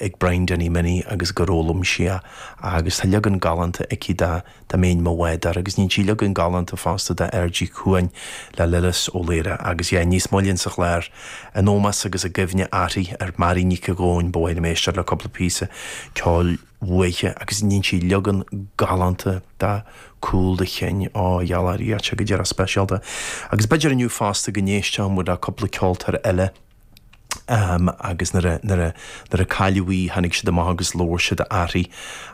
Ag Brian Danny Minnie agus gur fhoghlaim sí é agus tá leagan galánta aici de Dá mbeinn mo bhádóir agus dhein sí leagan galánta fosta de Aird Uí Chuain le Lillis Ó Laoire agus yeah níos moille insa chlár in ómós agus i gcuimhne uirthi, ar Mary Nic a' Ghóinn ba mhaith liom éisteacht le cúpla píosa ceoil uaithi agus dhein sí leagan galánta de Cúl do Chinn, á gheall air, tá sé go díreach speisialta. Agus b'fhéidir inniu fosta go n-éistfeadh muid le cúpla ceoltóir eile. agus nuair a, nuair a, nuair a cailleadh í tháinig siad amach agus labhair siad uirthi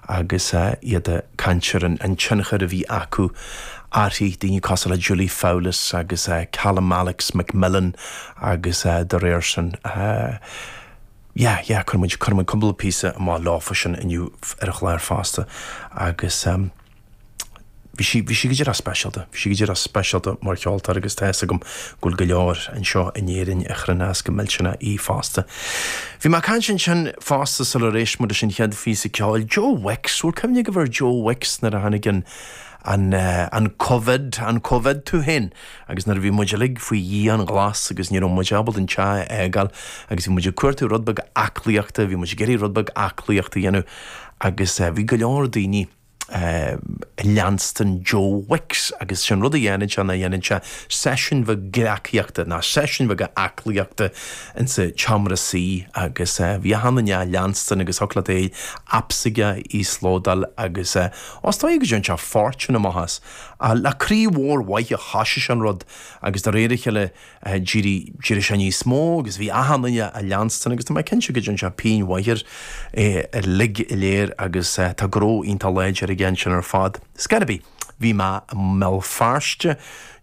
agus iad ag caint ar an, an tionchar a bhí acu uirthi, daoine cosúil le Julie Fowlis agus Callum Alex McMillan agus dá réir sin yeah, yeah, cuirfidh muid, cuirfidh muid cúpla píosa amach leofa sin inniu ar an chlár fosta agus. Bhí sí, bhí sí go díreach speisialta. Bhí sí go díreach speisialta mar cheoltóir agus tá fhios agam go bhfuil go leor anseo in Éirinn a chuireann as go millteanach í fosta. Bhí mé ag caint ansin fosta sular éist muid leis an chéad phíosa ceoil, Joe Wicks. Bhfuil cuimhne agaibh ar Joe Wicks nuair a tháinig an, an, an Covid, an Covid tú féin agus nuair a bhí muid uilig faoi dhianghlas agus ní raibh muid ábalta an teach a fhágáil agus bhí muid ag cuartú rud beag aclaíochta, bhí muid ag iarraidh rud beag aclaíochta a dhéanamh agus bhí go leor daoine, ag leanstan Joe Wicks agus sin rud a dhéanann sé ná dhéanann sé seisiúin bheag gleacaíochta ná seisiúin bheaga aclaíochta insa tseomra suí agus bhí achan duine á leanstan agus thiocfadh leat é app s'aige a íoslódáil agus is dóigh go dtéann sé fortune amach as. Le croí mhór mhaith a thoisigh sé an rud agus de réir a chéile D'éirigh, d'éirigh sé níos mó agus bhí achan duine á leanstan agus tá mé cinnte go dtearn sé pingin mhaith air uilig go léir agus tá gnó iontach láidir aige ansin ar fad. Ar scor ar bith, bhí mé i mBéal Feirste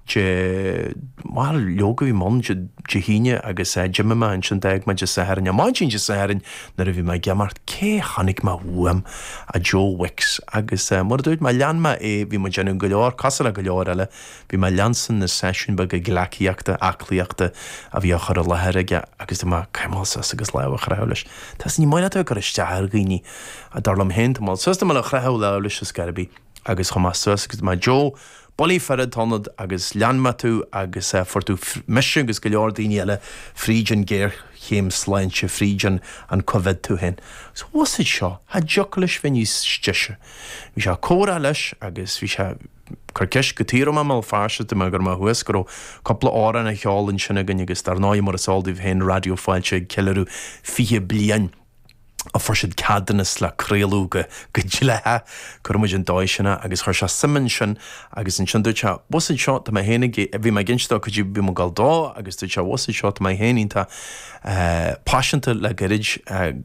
Dé, bhuel, leoga bhí mé ann Dé hAoine agus d'imigh mé ansin d'fhág mé Dé Sathairn, ar maidin Dé Sathairn nuair a bhí mé ag imeacht, cé chonaic mé uaim ach Joe Wicks agus mar a dúirt mé, lean mé é, bhí mé ag déanamh go leor, cosúil le go leor eile, Bhí mé ag leanstan na seisiúin beaga gleacaíochta, aclaíochta a bhí á chur i láthair aige agus tá mé ag dul suas agus lámh a chroitheadh leis. Tá ní maith leat a bheith ag cur isteach ar dhaoine. Dar liom féin, tá mé suas, tá mé ag croitheadh lámh leis ar scor ar bith agus chuaigh mé suas agus mé Joe, bullaí fear atá ionat agus lean mé tú agus fuair tú mise agus go leor daoine eile fríd an géarchéim sláinte, fríd an an Covid tú féin. Agus bhfuil fhios agat seo, cha dtiocfadh leis bheith níos deise. Bhí sé ag comhrá leis agus bhí sé cur ceist cad chuige a raibh mé i mBéal Feirste, dúirt mé go raibh mé thuas, go raibh cúpla amhrán á cheol ansin againn agus dar ndóigh mar is eol daoibh féin Raidió Fáilte ag ceiliúradh 20 bliain a fuair siad ceadúnas le craoladh go go dleathach, cuirfidh muid an dóigh sin é agus chuir sé suim ansin agus ansin dúirt sé bhfuil fhios agat seo tá mé féin ag bhí mé ag inse dó cad é bhí mé ag gabháil dó agus dúirt sé bhfuil fhios agat seo tá mé féin iontach paiseanta le gairid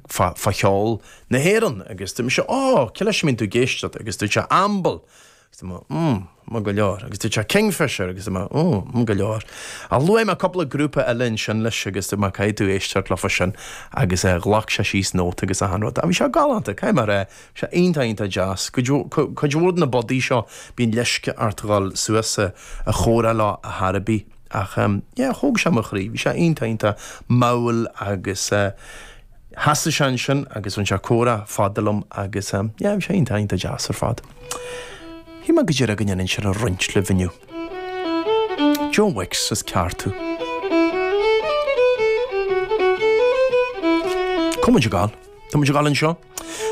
fá fá cheol na hÉireann agus dúirt mise ó cé leis a mbíonn tú ag éisteacht agus dúirt sé Amble Agus dúirt mé, mm, maith go leor. Agus dúirt sé Kingfisher agus dúirt mé, oh, maith go leor. Ach luaigh mé cúpla grúpa eile ansin leis agus dúirt mé caithfidh tú éisteacht leofa sin agus ghlac sé síos nóta agus achan rud. Ach bhí sé galánta, caithfidh mé a rá, bhí sé iontach iontach deas. Cuid cuid mhór de na budaí seo bíonn leisce ort dhul suas a chomhrá leo ar chor ar bith. Ach yeah, thóg sé mo chroí, bhí sé iontach iontach mall agus Sheasaigh sé ansin agus bhain sé comhrá fada liom agus yeah bhí sé iontach iontach deas ar fad. Shíl mé go díreach go ndéanfainn sin a roinnt libh inniu. Joe Wicks is ceart thú. Cá muid ag gabháil? Tá muid ag gabháil anseo.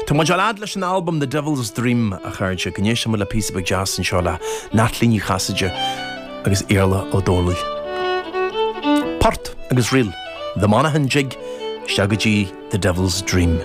Tá muid ag gabháil fhad leis an albam The Devil's Dream a chairde, go n-éistfidh muid le píosa beag deas anseo le Natalie Ní Chasaide agus Iarla Ó Dónaill. Port agus ríl The Monaghan Jig isteach go dtí The Devil's Dream.